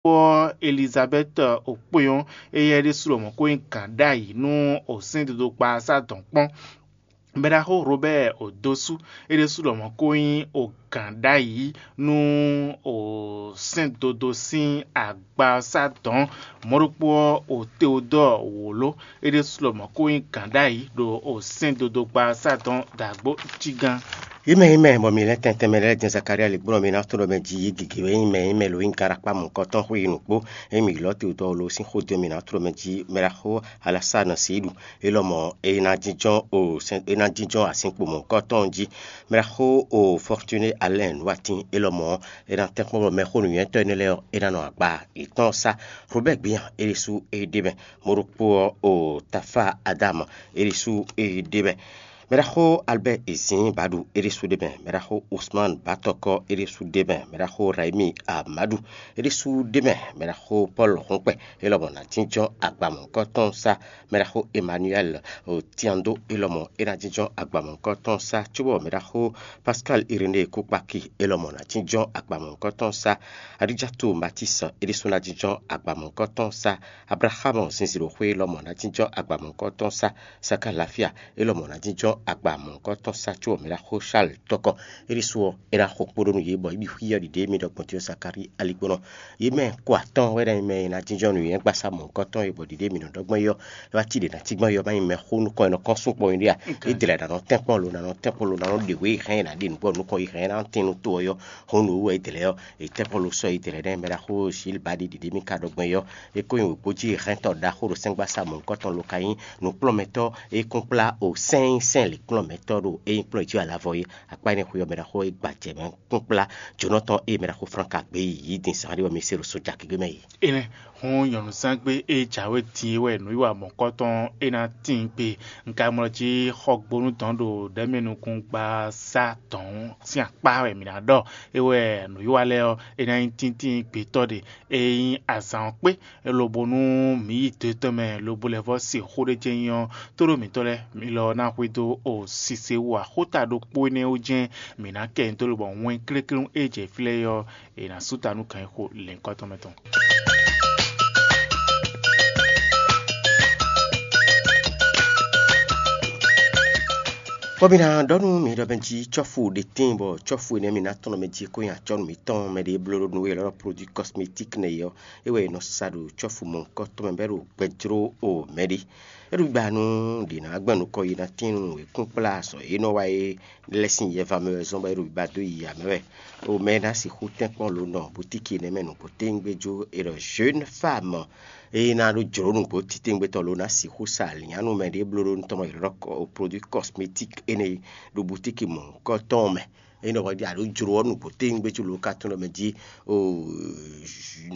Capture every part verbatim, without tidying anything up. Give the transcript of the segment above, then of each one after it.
ɔ́, Elizabɛ́ti okpɔ́n ɔ́, éyɛ́ ɖésú lɔmɔ̌ ko nyí gǎn ɖ'ayǐ nú osɛ́ndodokpasá dɔ̌n kpɔ́n. Mɛɖaxó Robɛ́ɛ Odosú, é ɖésú lɔmɔ̌ ko nyí ogǎn ɖ'ayǐ nú osɛ́ndodo sín agbasá dɔ̌n. Mɔ̌ ɖokpó ɔ́, Oteodɔ́ɔ wǒló, é ɖésú lɔmɔ̌ ko nyí gǎn ɖ'ayǐ ɖo osɛ́ndodokpasá dɔ̌n ɖo agbǒ cí gán. Yě mɛ e mɛ bɔ mi lɛ́ tɛntɛn mɛ lɛ́ɛ jɛ́n Zakalía lǐgbɔ́ ɔ́, mi ná tunwun ɖɔ mɛ ji yí gěgé wɛ nyí mɛ e mɛ lo nyí gaɖakpá mɔ̌hunkɔtɔn xwé yi nǔkpó. Ényí mi ylɔ́ te wǔtɔ́ lo sín xó din ɔ́, mi ná tunwun ɖɔ mɛ ji mɛɖaxó Alasán Sídu, é lɔmɔ̌ é ná jínjɔ́n o sɛn é ná jínjɔ́n azinkpo mɔ̌hunkɔtɔn jí. Mɛɖaxó o Fɔtuné Alɛ́n Nǔwatín, é lɔmɔ̌ é ná tɛ́nkpɔ́n bɔ mɛxó nǔnywɛ́tɔ́ énɛ́ lɛ́ɛ ɔ́, é ná nɔ agba yětɔn sá. Robɛ́ɛ Gbían, é ɖésú é ɖ'é mɛ. Mɔ̌ ɖokpó ɔ́, o Tafá Adámu, é ɖésú é ɖ'é mɛ. Mɛɖaxó Albɛ́ɛ Ezin Badu, é ɖésú ɖ'é mɛ. Mɛɖaxó Usman Batɔkɔ, é ɖésú ɖ'é mɛ. Mɛɖaxó Raimi Amadu, é ɖésú ɖ'é mɛ. Mɛɖaxó Pɔ́lu Hɔnkpɛ, é lɔmɔ̌ ná jínjɔ́n agba mɔ̌hunkɔtɔn sá. Mɛɖaxó Emmanuɛl Tiando, é lɔmɔ̌ é ná jínjɔ́n agba mɔ̌hunkɔtɔn sá, cóbɔ mɛɖaxó Pascal Iréné Kúkpaki, é lɔmɔ̌ ná jínjɔ́n agba mɔ̌hunkɔtɔn sá. Adijatu Matis, é ɖésú ná jínjɔ́n agba mɔ̌hunkɔtɔn sá. Ablaham Zinzilɔxwé lɔmɔ̌ ná jínjɔ́n agba mɔ̌hunkɔtɔn sá. Saka Lafia, é lɔmɔ̌ ná jínjɔ́n agba mɔ̌hunkɔtɔn sá, cóbɔ mɛɖaxó Charles Tɔkɔ, é ɖésú ɔ́, é ná xo kpó ɖó nú yě, bɔ é ɖi xwí ɔ́ ɖi ɖě mi ɖɔ gbɔn din ɔ́, Zakalí aligbɔnɔ. Yě mɛ ko atɔ́ɔ́n wɛ ná nyí mɛ e ná jínjɔ́n nǔnywɛ́gbasá mɔ̌hunkɔtɔn e bɔ ɖiɖe mǐ nɔ ɖɔ gbɔn é ɔ́, é wá cí ɖě ná cí gbɔn é ɔ́, má nyí mɛxó nukɔn e nɔ kɔ́n sú kpɔ́n é ɖíe a? É dlɛ̌ ná nɔ tɛ́nkpɔ́n lo, ná nɔ tɛ́nkpɔ́n lo, ná nɔ ɖe wě e hɛn é ná ɖe nǔgbɔ nukɔn e hɛn é ná tín nú to ɔ́ yɔ́. Hɔn nǔ wú wɛ é dlɛ̌ ɔ́, è tɛ́nkpɔ́n lo sɔ́ é dlɛ̌ nɛ́ mɛ ɖaxó Zilbadi ɖiɖe mì ka ɖɔ gbɔn é ɔ́, é ko nyí wěgbójí hɛntɔ ɖaxó ɖo sɛ́ngbasá mɔ̌hunkɔtɔn lo ka nyí nǔkplɔ́nmɛtɔ́ e kún kplá o sɛ́n e nyí sɛ́n lǐkplɔ́nmɛtɔ́ ɖo é nyí kplɔ́n jí alavɔ é. Akpá énɛ́ xwé ɔ́ mɛ ɖaxó é gbajɛ mɛ kúnkplá jǒnɔtɔn e mɛ ɖaxó Flán ka gbé yi yí din zǎn ɖé bɔ mi se ɖo sója gěgé mɛ yi. Énɛ́ hɔn nyɔ̌nuzángbe e jǎwe din é wɛ nǔwiwa mɔ̌kɔtɔn é ná tíin gbe. Un ka mlɔ jí xɔgbónú dɔn ɖo ɖɛ̌mɛnukúngbasá dɔn sín akpá wɛ mǐ ná ɖɔ. É wɛ nǔwiwa lɛ́ɛ ɔ́, é ná nyí tíntín gbětɔ́ ɖe. Ényí azǎn ɔ́ kpé, lobo nú mǐ yi do tɔn mɛ lobo lɛ́ vɔ́ se xó ɖé jɛ́n nyí ɔ́, tóɖó mǐtɔn lɛ́ɛ mi lɔ ná xwedó o sise wú axóta ɖokpó énɛ́ wú jɛ́n mǐ ná kɛ nyi dó lobɔ wɛn kléklé e jɛ fí lɛ́ɛ é ɔ́, è nǎ sú ta nú gǎnyixo lěhunkɔtɔn mɛ tɔn. Bɔ mi ná ɖɔ nú mi ɖɔ mɛ jí cɔ́fu ɖé tíin, bɔ cɔ́fu énɛ́ mi ná tɔn mɛ jí kó nyi acɔ́nú mǐtɔn mɛ ɖě bló nú we élɔ́ produit cosmétique nɛ é ɔ́, é wɛ è nɔ sa ɖo cɔ́fu mɔ̌hunkɔtɔn mɛ bɔ é ɖo gbɛ jló o mɛ ɖé. É ɖo gbígbá nú ɖě ná gbɛn nukɔn yi ná tín nú wěkúnkplá azɔ̌ e nɔ wa é lɛ́ sín yɛva mɛ wɛ zɔ́n bɔ é ɖo gbígbá dó yi amɛ wɛ. O mɛ ná sixú tɛ́nkpɔ́n lo nɔ bútíki nɛ́ mɛ nǔgbó téńgbé jó è ɖɔ jeune femme e ná ɖó jlǒ nǔgbó titewungbe tɔn lo ná sixú sa alǐnnyánú mɛ ɖé bló ɖó nú tɔn mɔ è ɖɔ produit cosmétique énɛ́ ɖo bútíki mɔ̌hunkɔtɔn mɛ. Ényí ɖɔ hwɛɖí a ɖǒ jlǒ ɔ́ nǔgbó téwúngbé cí lǒ ka tɔn ɖɔ mɛ jí, oo,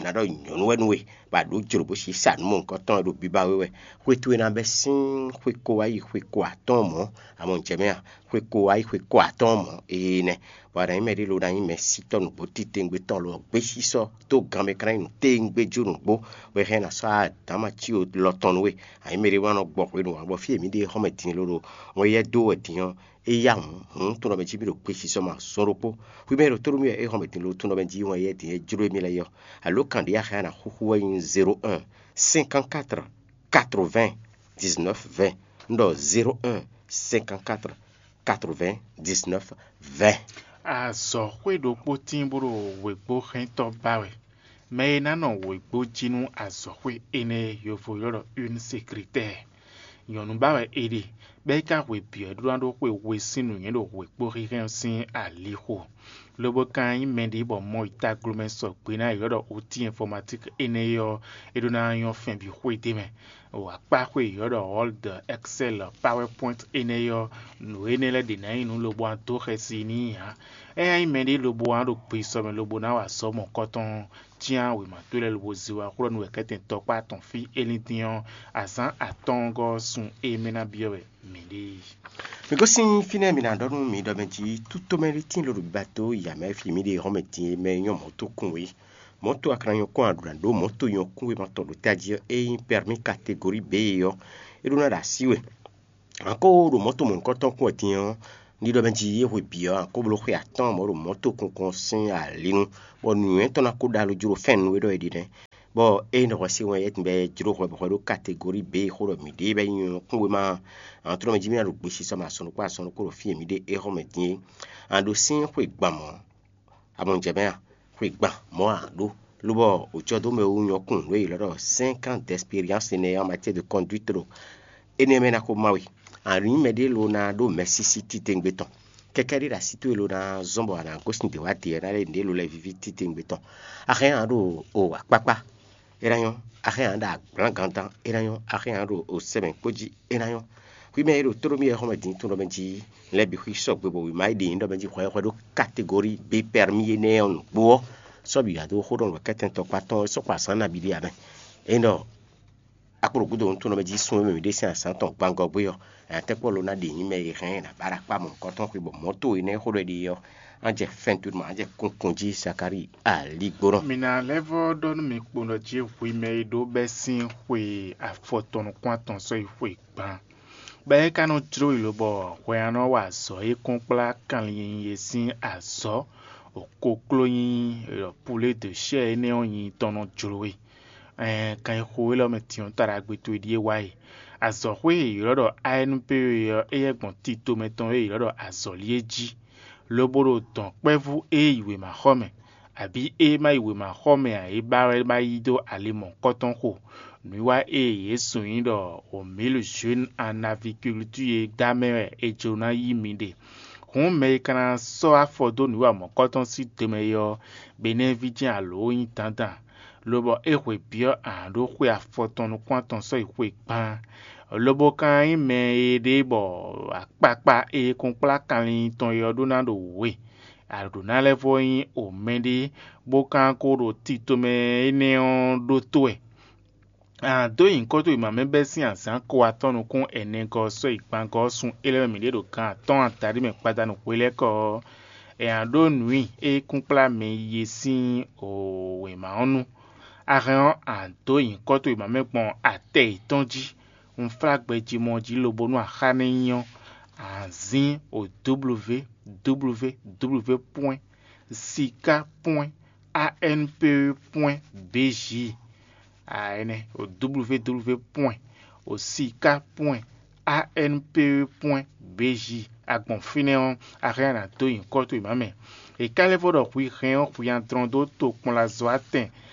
nǎ ɖɔ nyɔ̌nu wɛ nú we, bɔ a ɖǒ jlǒ bó si sa nǔ mɔ̌hunkɔtɔn e ɖo biba we wɛ. Xwe towe ná bɛ́ sín xwe ko wá yi xwe ko atɔ́ɔ́n mɔ̌, amɔ un jɛ mɛ a? Xwe ko wá yi xwe ko atɔ́ɔ́n mɔ̌, ee nɛ́. Bɔ a nǎ nyí mɛ ɖé lo ná nyí mɛ̌sítɔ́ nǔgbó titewungbe tɔn lo ɔ́, gbésísɔ́ dó gan mɛ ka ná nyí nǔ téwúngbé jó nǔgbó, bɔ è hɛn ná sɔ́ adǎma cí lɔ tɔn nú we. A nyǐ mɛ ɖé wá nɔ gbɔ hwenu ǎ, bɔ fí e mǐ ɖe xɔ́mɛ din lo ɖo wɛn yɛ dó wɛ din ɔ́, é yá hǔn, hǔn to nɔ mɛ jí mì ɖo gbesisɔ mɛ azɔn ɖokpó. Hwi mɛ e ɖo tónú mì wɛ é hɔn mɛ din lo to nɔ mɛ jí wɛn yɛ din e jló émí lɛ́ɛ yɔ. Alo kan ɖě a hɛn ná xúxú wɛ nyí zéro un, cinquante-quatre, quatre-vingts, dix-neuf, vingt. Un ɖɔ zéro un, cinquante-quatre, quatre-vingts, dix-neuf, vingt. Azɔ̌xwé ɖokpó tín bó ɖo wěgbóhɛntɔ́ ba wɛ. Mɛ e ná nɔ wěgbó jí nú azɔ̌xwé énɛ́ e yovo ylɔ́ ɖɔ une secrétaire. Nyɔ̌nu ba wɛ é ɖe, bɔ é ka hwe bǐ ɔ́ ɖó ná ɖó xwe we sín nǔnywɛ́ ɖo wěkpó hínhɛ́n ɔ́ sín alixo. Lobo ka nyí mɛɖé bɔ Mɔyitaglomɛ sɔgbe ná ylɔ́ ɖɔ outil informatique énɛ́ ɔ́, é ɖó ná nyɔ́ fɛ́n bǐ xwé d'é mɛ. O akpáxwé ylɔ́ ɖɔ Word, Excel, PowerPoint énɛ́ ɔ́, nǔ énɛ́ lɛ́ɛ ɖě ná nyí nǔ lobo ná dó xɛsi n'i ǎ. É ná nyí mɛɖé lobo ná ɖo gbesisɔ mɛ lobo ná wa azɔ̌ mɔ̌kɔtɔn, cyán wěma towe lɛ́ɛ lobo zé wá xlɔ́ nú wɛ kɛ́tɛn tɔkpá tɔn fí é lín dín ɔ́, azǎn atɔ́ɔ́ngɔ́ ɔ́ sun e mɛ ná byɔ́ wɛ mǐ ɖe yi. Mi gosín fínɛ́ mi ná ɖɔ nú mi ɖɔ mɛ jí tútomɛ ɖé tíin lo ɖo gbígbá dó yi amɛ fí mǐ ɖe hɔn mɛ din e mɛ nyɔ́ mɔ̌ tó kún we. Mɔ̌ tó a ka ná nyɔ́ kún a ɖǒ ná ɖó mɔ̌ tó nyɔ́ kún we ma tɔn ɖo tají ɔ́, é nyí pɛrmí kategori B ɔ́, é ɖó ná ɖo así we. Anko ɖo mɔ̌ tó mɔ̌hunkɔtɔn kún wɛ din ɔ́, Ɖiɖɔ mɛ jí é hwe bǐ ɔ́, a kó bló xwe atɔ́ɔ́n mɔ̌ ɖo mɔ̌ tokɔnkɔn sín alinu, bɔ nǔnywɛ́ tɔn ná kó ɖo alo jló fɛ́n nǔ e ɖɔ é ɖe nɛ́. Bɔ ényí ɖɔ hwɛ se wɛn é bɛ́ jló hwɛ bɔ hwɛ ɖó kategori B e xó ɖɔ mǐ ɖe bɛ́ nyí ɔ́ kún wéma ɔ́, a nɔ tlɔ́ mɛ jí mì ná ɖo gbesisɔ mɛ asɔn ɖokpó asɔn ɖokpó ɖo fí e mǐ ɖe é xɔ mɛ din é. A nɔ ɖo sín xwe gban mɔ̌, a mɔ jɛ mɛ a? Xwe gban mɔ̌ a ɖó, lobɔ wǒjɔdómɛ wú nyɔ́ kún nǔ e è ylɔ́ ɖɔ cinq ans d'expérience énɛ́ en matière de conduite ɖo énɛ́ mɛ ná xó má we. A nɔ nyí mɛɖé lo ná ɖó mɛsísí titewungbe tɔn. Kɛkɛ́ ɖé ɖo así towe lo ná zɔ́n bɔ a nǎ gosín dě wá dě ɔ́ ná lɛ́ nǔɖé lo lɛ́ víví titewungbe tɔn. A hɛn a ɖo o akpákpá, é ná nyɔ́. A hɛn a ɖo agblǎngantán, é ná nyɔ́. A hɛn a ɖo o sɛmɛ kpó jí, é ná nyɔ́. Xwí mɛ e ɖo tóɖó mì wɛ xɔmɛ din tún ɖɔ mɛ jí lɛ́ɛ bǐ xwí sɔgbe bɔ wěma e ɖe nyǐ ɖɔ mɛ jí hwɛ hwɛ ɖó kategori B permis énɛ́ ɔ́ nǔgbó ɔ́, sɔ́ bǐ wá dó xó ɖɔ nǔ kɛ́tɛn tɔkpá tɔn é sɔ́ kpa zǎn nabí ɖé ǎ mɛ. Ényí ɖɔ akpó ɖo gúdo nǔ tɔn mɛ jí sun e mɛ mǐ ɖe sín azǎn tɔn gbangɔ gbé ɔ́, nya tɛ́nkpɔ́ lo ná ɖe nyǐ mɛ e hɛn ɛ nǎ ba ɖo akpá mɔ̌hunkɔtɔn xwe bɔ mɔ̌ towe nɛ́ xó ɖɔ é ɖe ɔ́, á jɛ fɛ́ntúnu mɛ, á jɛ kunkun jí Zakalíi aligbónɔ. Mi ná lɛ́ vɔ́ ɖɔ nú mi kpowun ɖɔ jí hwi mɛ e ɖó bɛ́ sín xwe afɔtɔn nukún atɔn sɔ́ yi xwe gban. Bɔ é ka nɔ jló yi lobɔ hwɛ ɔ́ nɔ wa azɔ̌ e kɔn kplá kanlin e sín azɔ̌ kokló nyí pulé de chɛ́ɛ énɛ́ ɔ́ nyi tɔn nɔ jló we. Ɛɛn, kan e xo élɔ́ mɛ din ɔ́, taɖagbe towe ɖíe wá e. Azɔ̌xwé e è ylɔ́ ɖɔ A N P E ɔ́, éyɛ́ gbɔn tito mɛ tɔn e è ylɔ́ ɖɔ azɔ̌li é jí, lobo ɖo dɔ̌nkpɛ́vú e yi wěmaxɔmɛ, abǐ e ma yi wěmaxɔmɛ ǎ é ba wɛ ma yí dó ali mɔ̌hunkɔtɔn xo. Nǔwiwa e Jezu nyí ɖɔ o mǐl Jwin an avikultúr e dó amɛ wɛ è jló ná yí mi ɖe. Hǔn mɛ e ka ná sɔ́ afɔ dó nǔwiwa mɔ̌hunkɔtɔn sín do mɛ é ɔ́, Benɛ́ví jɛ́n alǒ nyí dandan, lobɔ é hwe byɔ́ ahan ɖó xwe afɔtɔn nukún atɔn sɔ́ yi xwe gban. Lobo ka nyí mɛ e ɖe bɔ akpakpa e kɔn kplá kanlin tɔn e ɔ́ ɖó ná ɖo wǔ e. A ɖǒ ná lɛ́ vɔ́ nyí o mɛɖé, bó ka ko ɖo tito mɛ énɛ́ ɔ́ ɖótó wɛ. A dǒ nyǐkɔ towe wěma mɛ bɛ́ sín azǎn ko atɔ́ nukún ɛnɛgɔ́ ɔ́ sɔ́ yi gbangɔ́ ɔ́ sun é lɛ́ɛ mɛ mǐ ɖe ɖo gan atɔ́ɔ́n adaɖé mɛ gbadanu hwelɛ́kɔ ɔ́, è nǎ ɖó nǔ i é kún kplá mɛ yi e sín wěma ɔ́ nu. A hɛn ɔ́, a dǒ nyǐkɔ towe wěma mɛ gbɔn atɛ yětɔn jí. Un flá gbɛjimɔ jí lobo nú axá nɛ́ nyí ɔ́, a zín o dúbluvě dúbluvě dúbluvě pwɛ́n, siká pwɛ́n, A N P E pwɛ́n B J. A ɛnɛ o dúbluvě dúbluvě pwɛ́n, o siká pwɛ́n, A N P E pwɛ́n B J. A gbɔn fínɛ́ ɔ́, a hɛn ɔ́ a nǎ dó nyǐkɔ towe mǎ mɛ. È ka lɛ́ vɔ ɖɔ hwi hɛn ɔ́ hwi nyi adlɔn dó tokpɔnlazɔ́watɛn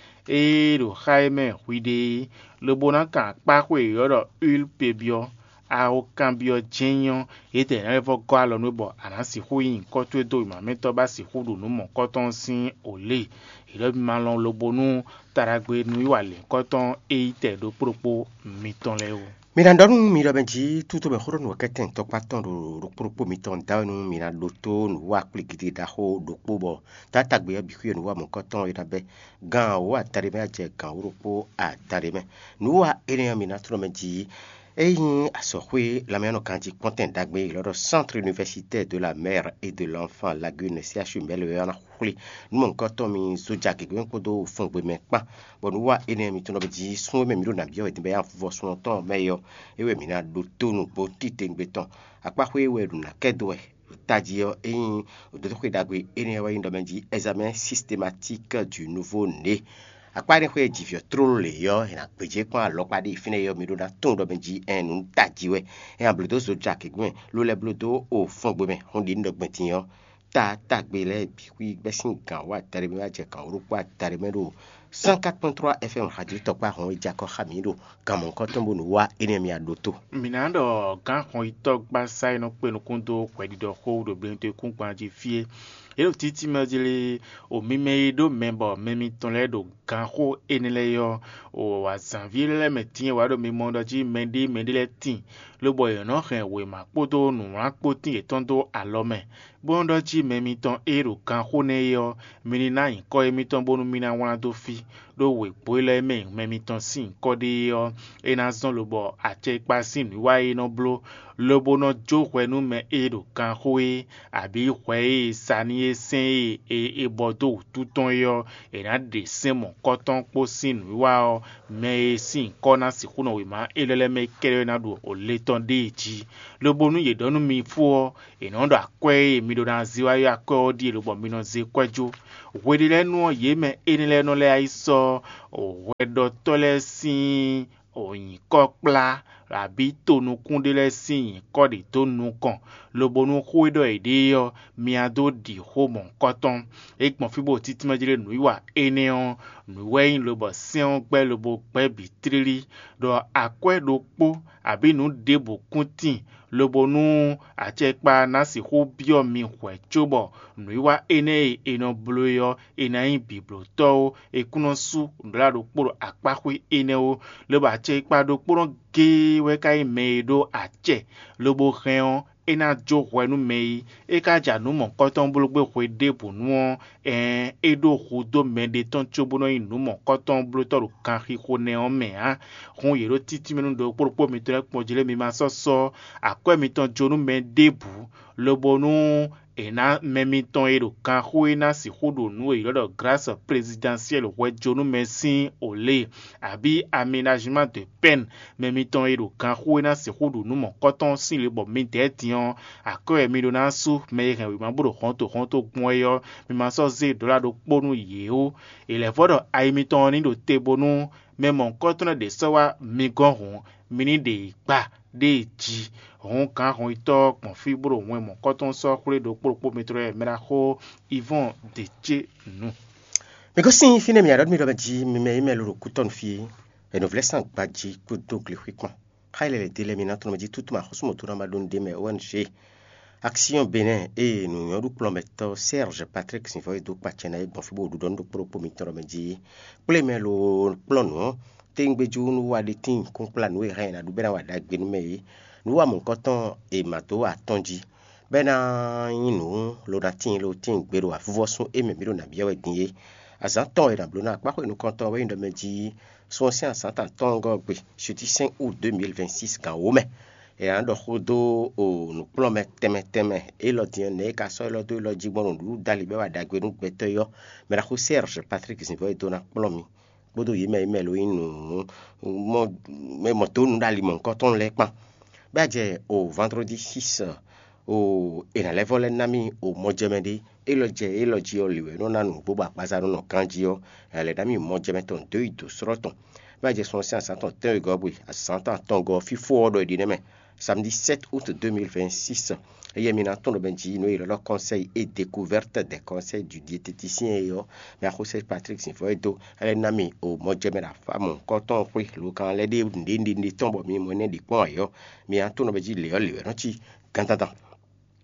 e ɖo xá e mɛ hwi ɖe é, lobo ná kan akpáxwé e è ylɔ́ ɖɔ Ul pe byɔ́. A ko kanbyɔ́ jɛ́n nyí ɔ́, yědɛɛ ná lɛ́ vɔ́ gɔ́ alɔ nú we bɔ a nǎ sixú nyí nyǐkɔ towe dó wěma mɛtɔn bó ná sixú ɖu nǔ mɔ̌hunkɔtɔn ɔ́ sín o lě. Hwɛɖɔ́ mi ma lɔn lobo nú taɖagbe nǔwiwa lěhunkɔtɔn e nyí tɛ ɖokpó ɖokpó mitɔn lɛ́ɛ ó. Mi ná ɖɔ nú mi ɖɔ mɛ jí túnto mɛ xó ɖɔ nǔ wɛ kɛ́tɛn tɔkpá tɔn ɖo ɖokpó ɖokpó mitɔn da wɛ nú mi ná ɖótó nǔwiwa kplígídí ɖaxó ɖokpó bɔ taátagbe ɔ́ bǐ xwíe nǔwiwa mɔ̌hunkɔtɔn e ná bɛ́ gan wǒ adaɖé mɛ jɛ gan wǒ ɖokpó adaɖé mɛ. Nǔwiwa énɛ́ ɔ́ mi ná tlɔ́ mɛ jí. É nyí azɔ̌xwé lanmɛyɔ́nɔ ganjí kpɔ́ntɛn ɖagbe e è ylɔ́ ɖɔ Centre Universitaire de la Mère et de l'Enfant Lagune, C H U Mɛlɛ ɔ́ ná xwlé nú mɔ̌hunkɔtɔn mi Zoja gěgé mɛ kpódó fɔngbe mɛ kpán, bɔ nǔwiwa énɛ́ mitɔn nɔ jí sún e mɛ mǐ ɖo nǎ byɔ́ wɛ din bɔ é ná vɔ sun ɔ́ tɔn mɛ é ɔ́, é wɛ mǐ ná ɖótó nǔgbó titewungbe tɔn. Akpáxwé e wɛ è ɖo nǎ kɛ dó wɛ ɖo tají ɔ́, é nyí dǒdóxwé ɖagbe énɛ́ wɛ nyí ɖɔ mɛ jí examen systématique du nouveau né. Akpá énɛ́ xwé e jivǐ ɔ́ tlóló lě ɔ́, è nǎ gbějé kpɔ́n alɔkpa ɖé fínɛ́ ɔ́, mi ɖó ná tunwun ɖɔ mɛ jí ɛn nǔ tají wɛ. É nǎ bló dó Zoja gěgbe mɛ, ló lɛ́ bló dó o fɔngbe mɛ, hɔn ɖě un ɖɔ gbɛn din ɔ́, taatagbe lɛ́ɛ bǐ xwí bɛ́ sín gǎn wǒ adaɖé mɛ wá jɛ gǎn wǒ ɖokpó adaɖé mɛ ɖo cent quatre point trois F M radio tɔkpá hɔn e jɛ akɔ xá mǐ ɖo gǎn mɔ̌hunkɔtɔn bónú wá énɛ́ mi a ɖótó. Mǐ ná ɖɔ gǎn xɔnyitɔ́ gbasá e nɔ kpé nukún dó hwɛɖiɖɔ xó ɖo blɛ́nútɔ́ kúngban jí fí é. É ɖo títí mɛ ɔ́ jí lé, o mi mɛ e ɖó mɛ bɔ mɛ mitɔn lɛ́ɛ ɖo ganxó énɛ́ lɛ́ɛ ɔ́, o azǎnví lɛ́ɛ mɛ tíin wǎ ɖo mi mɔ ɖɔ jí mɛɖé mɛɖé lɛ́ɛ tíin, lobɔ yě nɔ hɛn wěma kpódó nǔwlán kpó tíin yětɔn dó alɔ mɛ, bó nɔ́ ɖɔ jí mɛ mitɔn e ɖo ganxó nɛ́ é ɔ́, mi ní ná nyǐkɔ émítɔn bónú mì ná wlán dó fí, ɖó wěgbó élɔ́ e mɛ mɛ mitɔn sín nyǐkɔ ɖe é ɔ́, é ná zɔ́n lobɔ acɛkpá sín nǔwiwa e é nɔ bló, lobo nɔ jó hwɛ nú mɛ e ɖo ganxó é, abǐ hwɛ e è sa n'i e sɛn e è bɔ dó wǔtu tɔn é ɔ́, è nǎ ɖe sɛ́n mɔ̌kɔ́tɔn kpó sín nǔwiwa ɔ́, mɛ e sín nyǐkɔ ná sixú nɔ wěma élɔ́ lɛ́ɛ mɛ kɛ́ɖɛ́ ná ɖo le tɔn ɖée jí. Lobo nú yě ɖɔ nú mi fó ɔ́, è nɔ ɖɔ akwɛ́ e mi ɖó ná zé wá é akwɛ́ ɔ́ ɖíe lobɔ mi nɔ zé kwɛ́ jó. Hweɖélɛ́nu ɔ́, yě mɛ énɛ́ lɛ́ɛ nɔ lɛ́ yi sɔ́ hwɛɖɔtɔ́ lɛ́ɛ sín nyǐkɔ kplá, abǐ tonukún ɖé lɛ́ɛ sín nyǐkɔ ɖě dó nukɔn, lobo nú xó e ɖɔ yě ɖe é ɔ́, mi wá dó ɖi xó mɔ̌hunkɔtɔn. É gbɔn fí bó títí mɛ jlé nǔwiwa énɛ́ ɔ́, nǔ wɛ nyí lobɔ sɛ́n ɔ́ gbɛ́ lobo gbɛ́ bǐ tlílí, ɖɔ akwɛ́ ɖokpó abǐ nǔ ɖěbǔ kún tíin, lobo nú acɛkpa ná sixú byɔ́ mi hwɛ̌ cóbɔ nǔwiwa énɛ́ e è nɔ bló é ɔ́, è nǎ nyí bǐblótɔ́ ó. È kún nɔ sú nǔɖaɖokpó ɖo akpáxwé énɛ́ ó, lobo acɛkpa ɖokpónɔ géé wɛ ka nyí mɛ e ɖó acɛ, lobo hɛn ɔ́, é ná jó hwɛ nú mɛ e é ka ja nǔ mɔ̌kɔtɔn bló gbé hwe ɖěbǔnu ɔ́, ɛɛn, é ɖó hudó mɛɖé tɔn cóbó nɔ nyí nǔ mɔ̌kɔtɔn blótɔ́ ɖo ganxixo nɛ́ ɔ́ mɛ ǎ. Hǔn yě ɖó títí mɛ nú ɖokpó ɖokpó mitɔn lɛ́ɛ kpɔ́n jí lé mi ma sɔ́ sɔ́ akwɛ́ mitɔn jó nú mɛ ɖěbǔ, lobo nú è nǎ mɛ mitɔn e ɖo ganxó e ná sixú ɖo nǔ e è ylɔ́ ɖɔ glǎs plezidɛnsiɛ́l hwɛjǒnúmɛ sín olě, abǐ amenajimán de pɛ́n mɛ mitɔn e ɖo ganxó e ná sixú ɖu nǔ mɔ̌kɔtɔn sín le bɔ midɛɛ din ɔ́, akwɛ́ wɛ mi ɖó ná sú mɛ e hɛn wěma bó ɖo hɔnto hɔnto gbɔn é ɔ́, mi ma sɔ́ zé ɖɔ̌la ɖokpó nú yě ó. È lɛ̌ vɔ́ ɖɔ ayi mitɔn ɔ́ ní ɖo te bónú mɛ mɔ̌hunkɔtɔn lɛ́ɛ ɖě sɔ́ wá mi gɔ́n hǔn, mi ní ɖe yě kpa ɖéè jí. Hǔn gǎn hɔnyitɔ́ ɔ́ gbɔn fí bó ɖo wɛn mɔ̌kɔ́tɔn sɔ́ xwlé ɖokpó ɖokpó mitɔn lɛ́ɛ mɛ ɖaxó Ivɔ́ɔn Decénu. Mi gosín fínɛ́ mǐ aɖɔ̌ mi ɖɔ mɛ jí mi mɛ yi mɛ lo ɖo kútɔ́nu fí é, è nɔ vlɛ́ sín agbají kpódó glexwé kpán. Xá ilɛ lɛ́ɛ dé lɛ́ɛ mi ná tɔ́n mɛ jí tútú ma xɔ́sú mɔ̌ dó ná ma ɖó nu ɖé mɛ O N G. Aksiyɔn Benɛ́ɛ ée nǔnywɔ́ɖukplɔ́nmɛtɔ́ Sɛ́ɛzh Patrik Sinvɔ́ e dó kpa acɛ ná é gbɔn fí bó ɖu ɖɔ nú ɖokpó ɖokpó mitɔn ɖɔ mɛ jí kplé mɛ lo kplɔ́n nǔ ɔ́, téwúngbéjú nú wa ɖe tíin kúnkplá nǔ e hɛn è nǎ ɖu bɔ é ná wa ɖagbe nú mɛ é. Nǔ wa mɔ̌hunkɔtɔn e è ma dó atɔ́n jí, bɔ é ná nyí nǔ lo ná tíin lo tíin gbe ɖo avuvɔ́sún e mɛ mǐ ɖo nǎ byɔ́ wɛ din é. Azǎn tɔn e è nǎ bló ná akpáxwé nukɔntɔn ɔ́ wɛ nyí ɖɔ mɛ jí sun ɔ́ sín azǎn tɔn atɔ́ɔ́ngɔ́ ɔ́ gbe, sixtí-cinq août deux mille vingt-six gan wǒ mɛ. È nǎ ɖɔ xó dó nǔkplɔ́nmɛ tɛnmɛ tɛnmɛ élɔ́ din ɔ́, nɛ̌ è ka sɔ́ élɔ́ dó élɔ́ jí gbɔn ɖo nǔɖuɖu dali bɔ é wa ɖagbe nú gbɛtɔ́ é ɔ́, mɛ ɖaxó Sɛ́ɛrzh Patrik Zinvɔ́ e dó ná kplɔ́n mi kpódó yě mɛ e mɛ lo nyí nǔ mɔ mɛ mɔ dó nǔ ɖo ali mɔ̌hunkɔtɔn lɛ́ɛ kpán. Bɔ é jɛ o vandrɔ́di six o è nǎ lɛ́ vɔ́ lɛ́ ná mì o mɔjɛmɛ ɖé. Élɔ́ jɛ élɔ́ jí ɔ́, lě wɛ é nɔ ná nǔgbó bɔ agbaza nɔ nɔ ganjí ɔ́, è nǎ lɛ́ ná mì mɔjɛmɛ tɔn dó yi dǒ slɔ́ tɔn. Bɔ é jɛ sun ɔ́ sín azǎn tɔn tɛ́nwegɔ́ gbe, azǎn tɔn atɔngɔ́ ɔ́, fí fó ɔ́ ɖɔ è ɖi nɛ́ mɛ. Samedi sept août deux mille vingt-six, éyɛ́ mi ná tɔ́n ɖɔ mɛ jí nǔ e è ylɔ́ ɖɔ Conseil et découverte des conseils du diététicien é ɔ́, mɛ axɔ́sɛ Patrick Zinvɔ́ e dó, é lɛ́ ná mi o mɔjɛmɛ ɖo afá mɔ̌hunkɔtɔn xwé lo kan lɛ́ ɖe nǔɖé nǔɖé tɔn bɔ mi mɔ énɛ́ ɖi kpɔ́n ayǐ ɔ́, mi ná tɔ́n ɖɔ mɛ jí lě ɔ́ lě wɛ nɔ cí gandandan.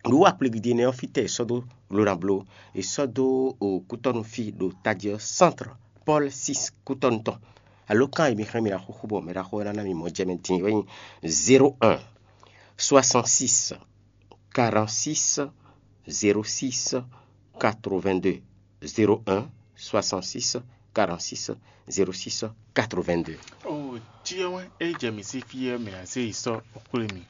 Nǔ wa kplividi énɛ́ ɔ́, fítɛ́ è sɔ́ dó lo ná bló? È sɔ́ dó o kútɔ́nu fí ɖo tají ɔ́, Centre Paul six kútɔ́nu tɔn. Alo kan e mi xlɛ́ mi ná xúxú bɔ mɛ ɖaxó ɔ́ ná ná mi mɔjɛmɛ din ɔ́ nyí zéro un soixante-six quarante-six zéro six quatre-vingt-deux. Zéro un soixante-six quarante-six zéro six quatre-vingt-deux. O jí ɔ́ wɛn é jɛ mǐ sí fí ɔ́, mǐ ná zé yi sɔ́ xwlé mi.